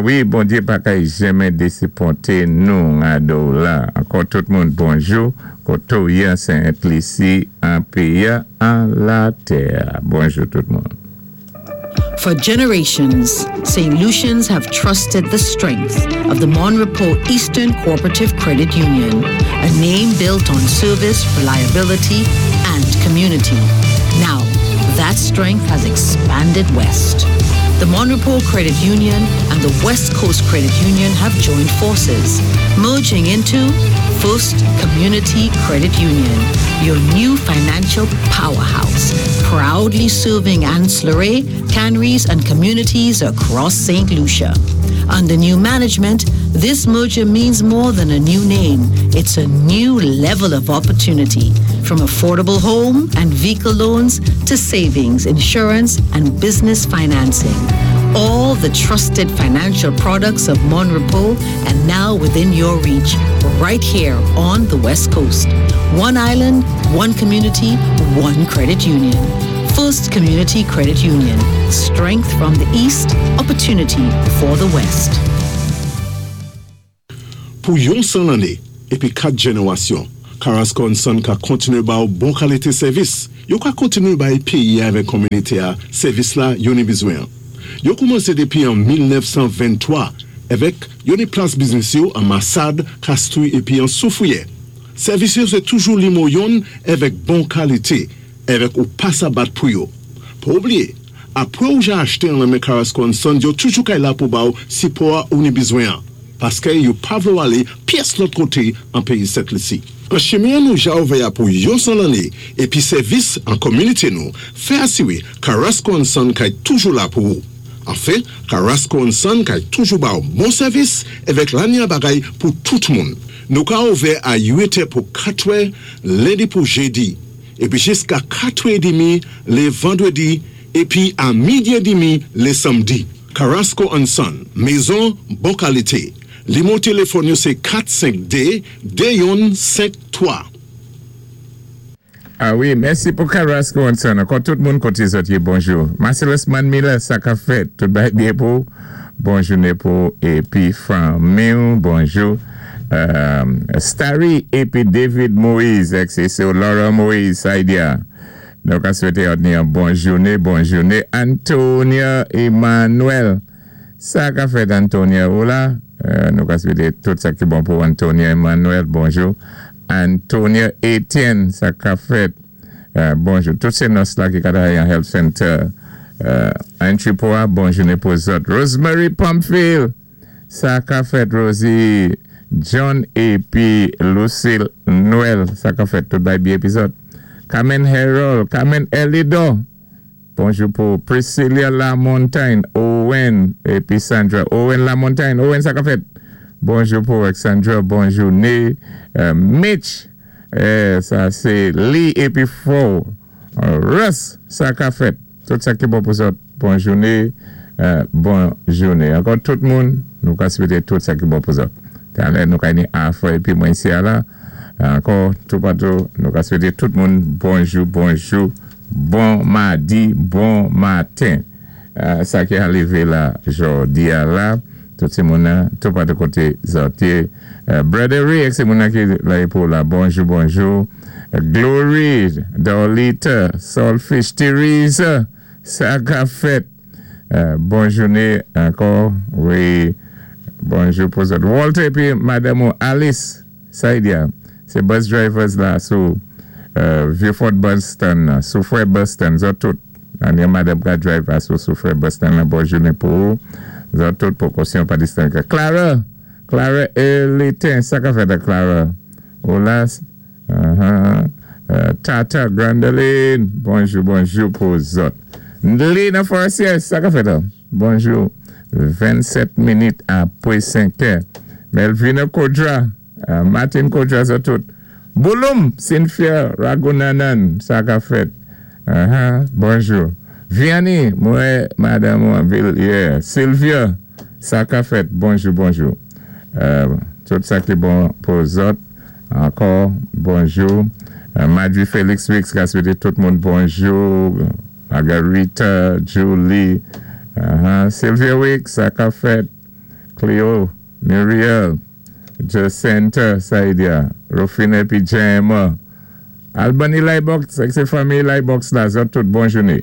Awi, Bondyé pa kay jenmen désiponté nou gado la. Ankò tout moun bonjou, koto yé an Sent Lisi, an péyi-a, an latè. Bonjou tout moun. For generations, St. Lucians have trusted the strength of the Mon Repos Eastern Cooperative Credit Union, a name built on service, reliability, and community. Now, that strength has expanded west. The Mon Repos Credit Union and the West Coast Credit Union have joined forces, merging into First Community Credit Union, your new financial powerhouse, proudly serving Anse La Raye, Canaries, and communities across St. Lucia. Under new management, this merger means more than a new name. It's a new level of opportunity. From affordable home and vehicle loans to savings, insurance, and business financing. All the trusted financial products of Mon Repos and now within your reach, right here on the West Coast. One island, one community, one credit union. First Community Credit Union. Strength from the East, opportunity for the West. Pou yon san lanné épi 4 jènérasyon, Carrasco and Son ka kontinué ba ou bon kalité sèvis. Yo ka kontinué bay péyi-a avèk kominité-a sèvis la yo ni bizwen an. Yo koumansé dépi an 1923 èvèk yo ni plas biznis yo an Masad, Kastri épi an Soufriyè. Sèvis yo sé toujou limo yonn èvèk bon kalité èvèk ou pa sa bat pou yo. Pa oubliyé, apwé ou ja achte an lan men Carrasco and Son yo toujou kay la pou ba ou sipò-a ou ni bizwen an. Paskè yo pa vlé w alé pyès lòt koté an péyi Sent Lisi. An chimen an nou ja ouvè a pou yon 100 lanné épi sèvis an kominité nou fè asiré Carrasco and Son kay toujou la pou ou. Anfen, Carrasco and Son kay toujou ba w bon sèvis èvèk lanya bagay pou tout moun. Nou ka ouvè a 8 è pou 4 è lendi pou jedi épi jiska 4 è demi lé vandredi épi a midi è demi lé samdi. Carrasco and Son, mezon bon kalite. Limo téléfòn yo sé 4 5 2 2 yonn 5 3. Ah wi, mèsi pou Carrasco and Son. Ankò tout moun koté zòt yé bonjou. Marcellus Manmiller, sa kap fèt? Tout bagay byen pou ou? Bon jouné pou ou épi fanmi ou. Bonjou. Starry épi David Moise ak sé sè Laura Moise Saidia. Nou ka swété òt ni yon bon jouné, bon jouné. Antonia Emmanuel. Sa ka fèt Antonia ou la? Nou ka swété tout sa ki bon pou Antonia Emmanuel. Bonjou. Antonia Etienne, sa ka fèt? Bonjou. Tout sé nòs la ki ka travay an Health Center. Entry pou a, bon jouné pou zòt. Rosemary Pamphile. Sa ka fèt Rosie John épi Lucille Noël sa ka fèt tout bay byen épi zòt Carmen Harold Carmen Elidor bonjou pou Priscilla Lamontagne Owen épi Sandra Owen Lamontagne Owen sa ka fèt bonjou pou ak Sandra bon jouné Mitch sa sé Lee épi Fò Russ sa ka fèt tout sa ki bon pou zòt bon joune bon joune ankò tout moun nou ka swete tout sa ki bon pou zòt talè nou ka ni afè epi mwen isi a la ankò toupatou nou ka swete tout moun bonjou bonjou bon madi bon maten sa ki arive la jodi a la tout ti moun nan toupatou kote zòt ye Brother Ray ak se moun nan ki la pou la bonjou bonjou Glory Dorlita Solfish Theresa sa ka fèt bon jouné ankò wi bonjou pou zòt Walter épi madanm ou Alice Saidia sé bus drivers la sou Vieux Fort bus stand nan Soufrè bus stand zòt tout an yon madanm ka drive a sou Soufrè bus stand nan bon jouné pou ou zòt tout pwokosyon pa distance Clara Clara Elitin sa ka fèt ak Clara ou la Tata Grandeline bonjou bonjou pou zòt Ndli nan Forestier sa ka fèt an bonjou 27 minit apwé 5 è Melvina Kodra Martin Kodra zòt tout Bouloum Cynthia Ragunanan sa ka fèt bonjou Vianney mwen madanm ou anpil yeah Sylvia sa ka fèt bonjou bonjou tout sa ki bon pou zòt ankò bonjou Madvi Felix Wix ka swete tout moun bonjou Margarita Julie Sylvia Wix sa ka fèt. Cleo, Muriel, Jacinta Saidia, Rufine épi Jema, Albany Libox, ak sé fanmi Libox la, zòt tout, bon jouné.